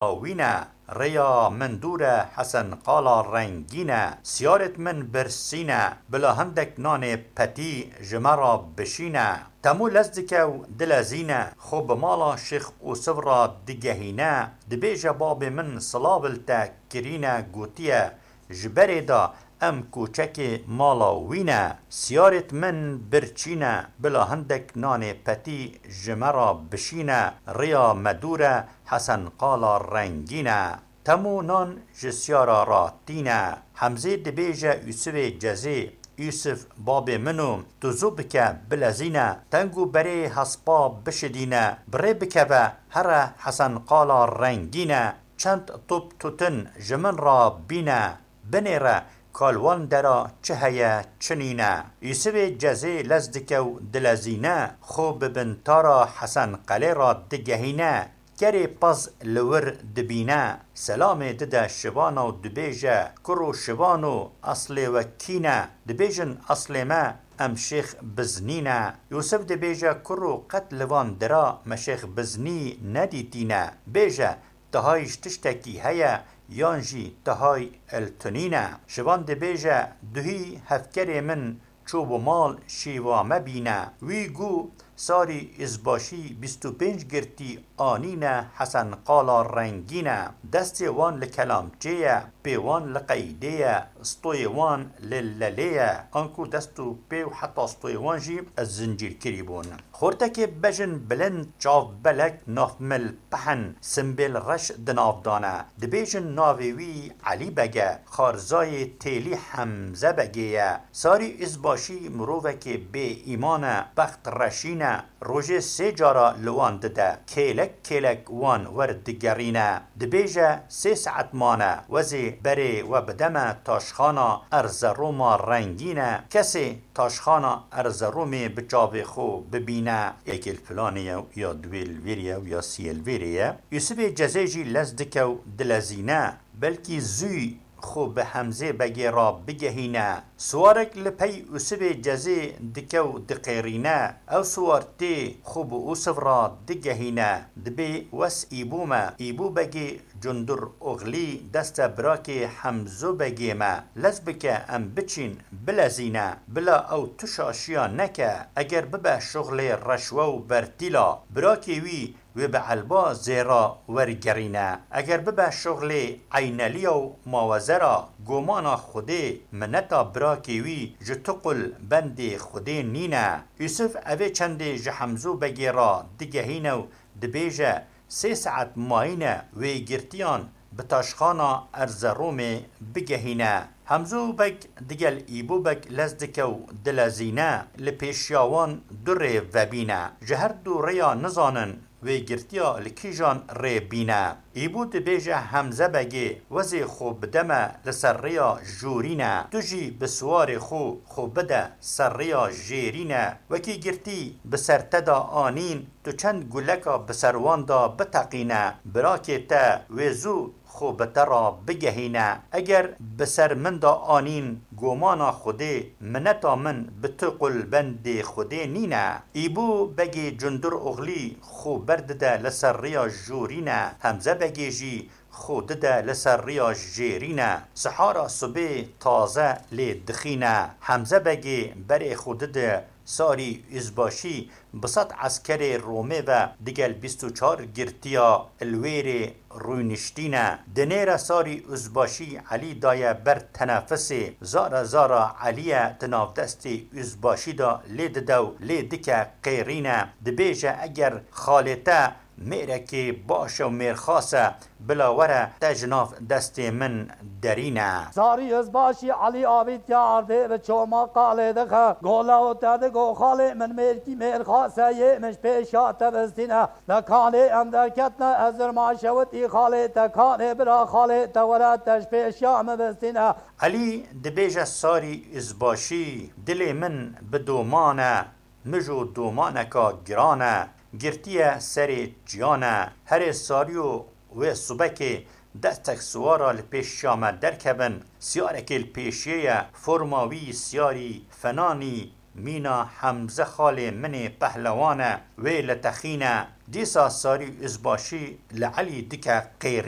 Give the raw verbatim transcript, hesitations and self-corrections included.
wî ne. Rêya min dûr e, Hesen qala rengîn e. Siyarêt min birsîn e, bila hindek nanê petî ji me re bişîne. Temû lez dike û dilezîne, xwe bi mala Şêx Ûsiv re digehîne. Dibêje babê min silav li te kirîne, gotiye, ji berê de em koçekê mala wî ne. Siyarêt min birçîne, bila hindek nanê petî ji me re bişîne. Rêya me dûr e, Hesen qala rengîn e. Temû nan ji siyara re tîne. Hemzê dibêje Ûsivê Cezê, Ûsiv babê min o, tu zû bike bilezîne, teng û berê hespa bişidîne, bi rê bikeve, here Hesen qala rengîn e, çend top tutin ji min re bîne, binêre, ka li wan dera çi heye, çi nîne. Ûsivê Cezê lez dike û dilezîne, xwe bi bintara Hesen Qelê re digehîne, kerê pez li wir dibîne, selamê dide şivana û dibêje, Kuro şivano, eslê we kî ne? Dibêjin, eslê me em Şêx Biznî ne. Yûsif dibêje, Kuro qet li van dira me Şêx Biznî nedîtîne. Bêje, tihay ji tiştekî heye yan jî tihay li tunî ne. Şivan dibêje, Duhî hevkerê min çû bi mal şîva me bîne. Wî gu sarî izbaşî bîst û pênc girtî anîne Hesen qala rengîn e. Destê wan li kelamçê ye, pê wan li qeydê ye, stoyê wan li lelê ye. Anku dest û pê û heta stoyê wan jî zincîr kirî bûn. Xortekê bejin bilind, çav belek, navmil pehn, simbêl reş di nav dane. Dibêjin navê wî Elî Beg e, xarzayê têlî Hemze Begê ye. Sarî Izbaşî mirovekê bê îman e, bext reşîn e, rojê sê cara li wan dide. Kêlek kêlek wan wer digerîne. Dibêje, sê saet mane, wezê berê we bide me taşxana Erzeroma rengîn e. Kesê taşxana Erzeromê bi çavê xwe bibîne. Yekê li filanê ye û ya duwê li vêrê ye û ya siyê li vêrê ye. Yûsifê Cezê jî lez dike û dilezîne. Belkî zûy xwe bi Hemzê Begê re bigehîne. Siwarek li pey Ûsivê Cezê dike û diqêrîne. Ew siwar tê xwe bi Ûsiv re digehîne. Dibê wes Îbû me. Îbû Begê Cundur Oxlî deste birakê Hemzo Begê me. Lez bike em biçîn, bilezîne. Bila ew tu şaşiya neke. Eger bibe şuxlê reşwe û bertîla, birakê wî wê bi elba zêra wergerîne. Eger bibe şuxlê eyneliya û mawezera, gomana Xwedê, mineta birakê wî ji tu qul bendê Xwedê nîne. Yûsif evê çendê ji Hemzo Begê re digehîne û dibêje, sê saet mayîne wê girtiyan bi taşxana Erzeromê bigehîne. Hemzo Beg digel Îbo Beg lez dike û dilezîne, li pêşiya wan du rê vebîne. Ji her du rêya nizanin wê girtiya li kîjan rê bîne. Îbo dibêje Hemze Begê, wezê xwe bide me li ser rêya jorîne. Tu jî bi siwarê xwe xwe bide ser rêya jêrîne. Wekî girtî bi ser te de anîn, tu çend guleka bi ser wan de biteqîne, birakê te wê zû xwe bi te re bigehîne. Eger bi ser min de anîn gomana Xwedê, mineta min bi tu qul bendê Xwedê nîne. Îbo Begê Cundur Oxlî xwe berdide li ser rêya jorîne, Hemze Begê jî xwe dide li ser rêya jêrîne. Sihara sibê taze lê dixîne. Hemze Begê berê xwe dide Sarî Uzbaşî bi sed eskerê Romê ve digel bîst û çar girtiya li wêrê rûniştîne. Dinêre Sarî Uzbaşî Elî daye ber tenefisê. Zara zara Elî ye di nav destê Uzbaşî de lê dide û lê dike qêrîne. Dibêje, eger xalê te mêrekê baş e û mêrxas e, bila were te ji nav destê min derîne. Sarî Uzbaşî Elî avîtiya erdê bi çoma qalê dixe. Gole û te digo xalê min mêrkî mêrxas e, yê min ji pêşiya te vistîne. Li kanê em derketine, ez zirma şewitî xalê te kanê bira xalê te were te ji pêşiya min vistîne. Elî dibêje Sarî Uzbaşî, dilê min bi doman e, mijo domaneka giran e, girtiye serê çiyan e. Herê Sarî û wê subekê destek siwara li pêşiya me derkevin, siyarekê li pêşiyê ye, forma wî siyarî fenanî Mîna Hemze xalê min ê pehlewan e, wê li texîne. Dîsa Sarî Uzbaşî li Elî dike qêrîn.